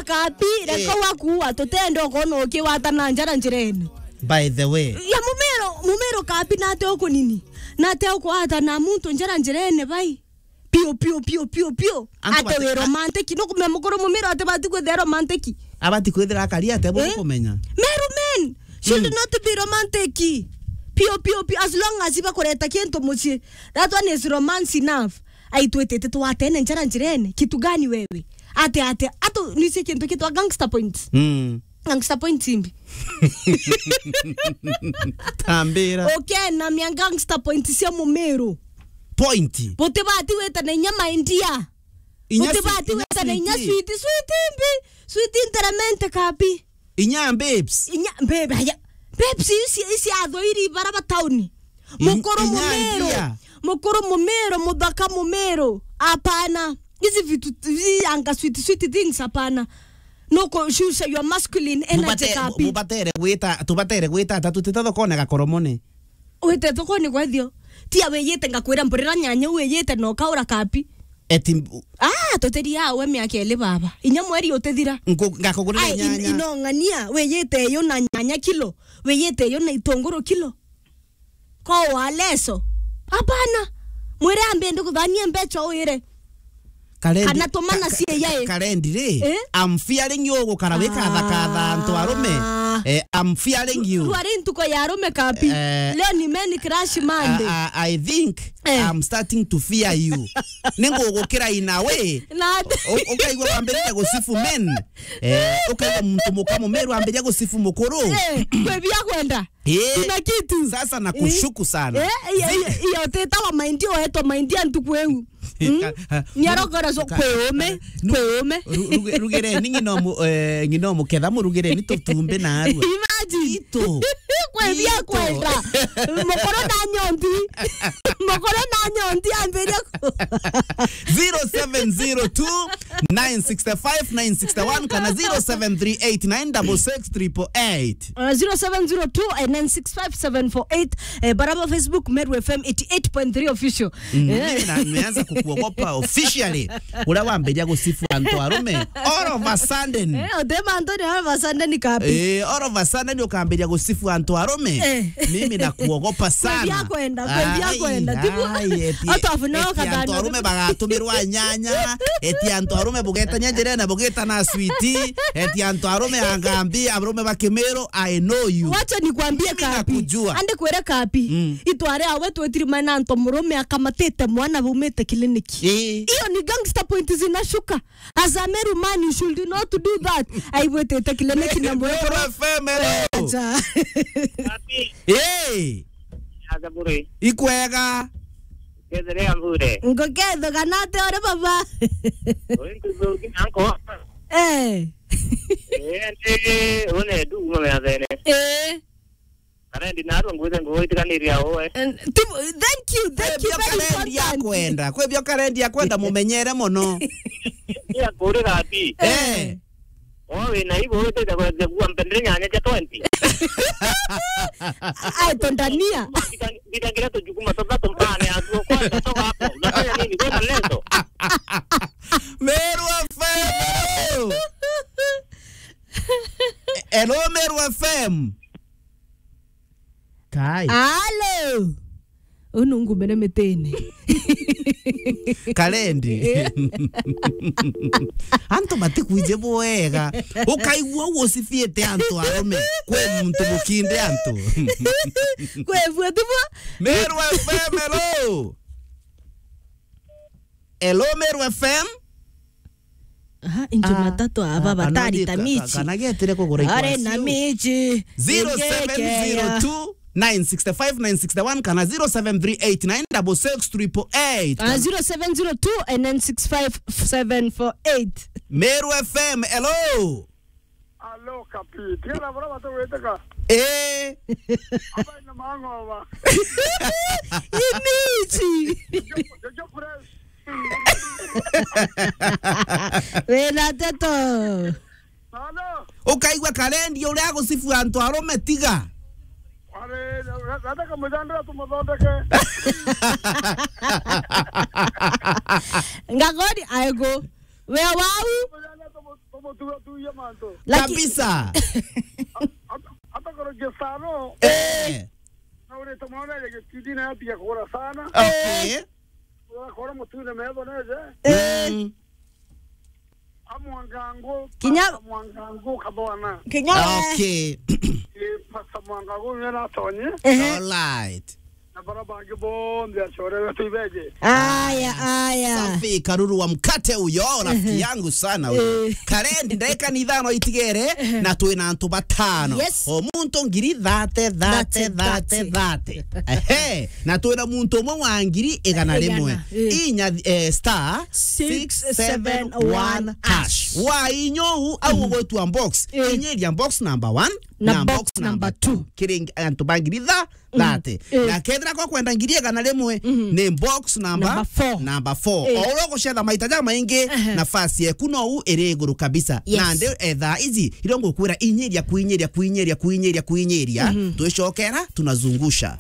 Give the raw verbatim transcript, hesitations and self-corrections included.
Kabi, reka Eh. wakuua, tutenda ukona ukiwata na njara njirene. By the way. Ya mumero, mumero kabi nate ukunini. Nate ukwata na muntu njara njirene bai. Pio, pio, pio, pio, pio. Antu ate bati-, we a-, romantic. No kumenya mukuru mumero ate bati kwithira romantic. Abati kwithira akari ate bo Eh? kumenya. Meru men should Mm. not be romantic. Pio, pio, pio. As long as ibakureta kintu mucii. That one is romance enough. Ai, twitite twatene njara njirene. Kitu gani wewe? Ate, ate, ato, nise kintu kitwa gangster points. Mm. Gangster points imbi. Tambira. Okay, na mia gangster points cia mumero. Point. Butibati wita na inya my dear. Inya Butibati sweet, wita na inya sweet. Sweet, sweet imbi. Sweet nteramente kabi. Inya babes. Inya, babe, aya. Babes, isi, isi athoiri bara ba tauni. Mukuru mumero. Mukuru mumero, muthaka mumero. Hapana. Hizi vitu, hizi anga sweet, sweet things, hapana. No kushusha your masculine energy kabi. Mubatere gwita, tubatere gwita atatu tita thokone gakoromone. Wite thokone kwethio. Tia wiyite ngakwira mburira nyanya wiyite na ukaura kabi. Eti mbu- Ah, tuteria we miaka ili baba. Inya mweri utithira. Nku-, ngakugurira Ai, in-, nyanya. Inong'ania, wiyite yo na nyanya kilo, wiyite yo na itunguru kilo. Ko wa leso. Hapana. Mwire ambe ndi kuthania mbecha uire. Karendi, Kana tumana ka-, ka-, cia yae. Karendi ri, Eh? I'm fearing you gukara wikathakatha antu arume. Ah. Eh, I'm fearing you. Twari ntuko ya arume kabi. Eh. Leo ni men crush Monday. I, I, I think Eh. I'm starting to fear you. Ningugukira in a way. Na U-, ukaigua wambiriria gusifu men. Eh, ukaigua muntu muka mumeru ambiria gusifu mukuru. Eh, kwe bia kwenda. Eh, Kuna kitu. Sasa nakushuku sana. Eh, iyo, iyo, iyo tetawa mind yo, etwa mind ya ntuku eu. Mm? Ka-, ha, Ni arokora so ka-, kwe ume, ka-, nu-, kwe ume. Ru-, ruge-, rugere ni ng'ina mu-, eh, ng'ina muketha murugere ni tutumbe na arua. Imagine. Ito. Kwe bia Ito. kwenda. Mukoro na nyondi. Mukoro na nyondi ambiria ku- zero seven zero two, nine six five, nine six one kana zero seven three eight, nine six six, triple eight. Uh, zero seven zero two, nine six five, seven four eight. Eh, baraba Facebook, Meru F M eighty eight point three official. Mm, Eh. mimi na-, nimeanza kukuogopa officially. Uria wambiria gusifu antu arume. All of a sudden. Eh, othe mantu ni all of a sudden kabi. Eh, all of a sudden ukambiria gusifu antu arume. Eh. Mimi nakuogopa sana. Kwebia kwenda, kwebia Ai, kwenda. Tibu, ai, eti, hata afu nao eti antu kathana. arume bagatumirwa nyanya, eti antu arume bugetania njirene bugitana switi, eti antu arume angambi, arume ba Kimiru, I know you. Wacha nikwambie Mimi kabi. nakujua. Ande kwere kabi. Mm. Itware awe twetiri maina antu murume akamatite mwana baumite kiliniki. Eh. Iyo ni gangster point zinashuka. As a Meru man, you should not do that. Aigwitite kiliniki na mwekoro. Meru F M, hello. Acha. Kabi. Hey. Acha bure. Ikwega. Kethere ambure. Ngoketho kana ate ore baba. Oi, nkuzo kina nko. Eh. Eh, ande, one du, mama ya thene. Eh. Karendi narua ngwite nguo itiganiria uwe. And tibu-, thank you, thank you, Kwebio very karendi important. akwenda, kwebio karendi akwenda mumenyere mono. Ni akurira ati. Eh. Oh, wina ibo witite kwenda kuwa mpendere nyanya cha twenty. Ai, tondania. Ngita-, ngitangira tujukuma tuthatu mbane atuo kwanza toka hapo. Unafanya nini? Kwenda leso. Meru F M, hello. Hello, Meru F M. Kai. Alo. Unu ngumene mitini. Karendi. Eh. Antu matikwije bwega. Ukaigua ucibiite antu arume. Kwi muntu mukinde antu. Kwi bua tibu. Meru F M, hello. Hello, Meru F M. Aha, injo Ah, matatu aba ah, batari kana ta ka-, ka-, michi. kana getire kugura Are ikwasio. na michi. Zero seven zero two, nine six five, nine six one kana zero seven three eight, nine six six, triple eight. Ah, zero seven zero two, nine six five, seven four eight. Meru F M, hello. Alo, Kapi. Tiara bora batu weteka. Eh. Aba ina mang'oba. Imichi. Jojo, Jojo Fresh. Wina teto. Alo. Ukaigua Karendi uria agucibu antu arume tiga. Are, nataka mujandira tumuthondeke. Ngagori aego. We wau. Mujandira tumu-, tumu-, Tuya mantu. Laki- Kabisa. Hata koro jesano. Eh. Na ule tomaona ile kitidi na pia kora sana. Okay. Kora mutune mebo neze. Eh. Mm. Amwangango. Kinya- Pasta Mwangango kabona. Kinya- Okay. Eh, Pasta Mwangango yena tonye. Ehe. All right. Na bara bangi bonthe acore wetu ibeje. Aya, aya. Safi, Karuru wa mkate uyo, rafiki yangu sana uyo. Eh. Karendi, ndagika ni ithano itigere, na twina antu batano. Yes. O muntu ngiri thate, thate, thate, thate, thate. Ehe, na twina muntu umwe wa ngiri igana rimwe. Igana, eh. Inya, eh, star six seven one hash. Wa inyo u, au ugwetwa box. Eh. Inyiria box number one, na box number two. Kiri antu ba ngiri tha- thate. Eh. Na kethira kwa kwenda ngiri igana rimwe, ni box number, number four. Number four. Eh. O uria ugucetha maita ja maingi, nafasi yeku no u iri iguru kabisa. Yes. Nandi, eh, thaa ici, iria ngukwira inyiria, kuinyiria, kuinyiria, kuinyiria, kuinyiria, twicokera, tunazungusha.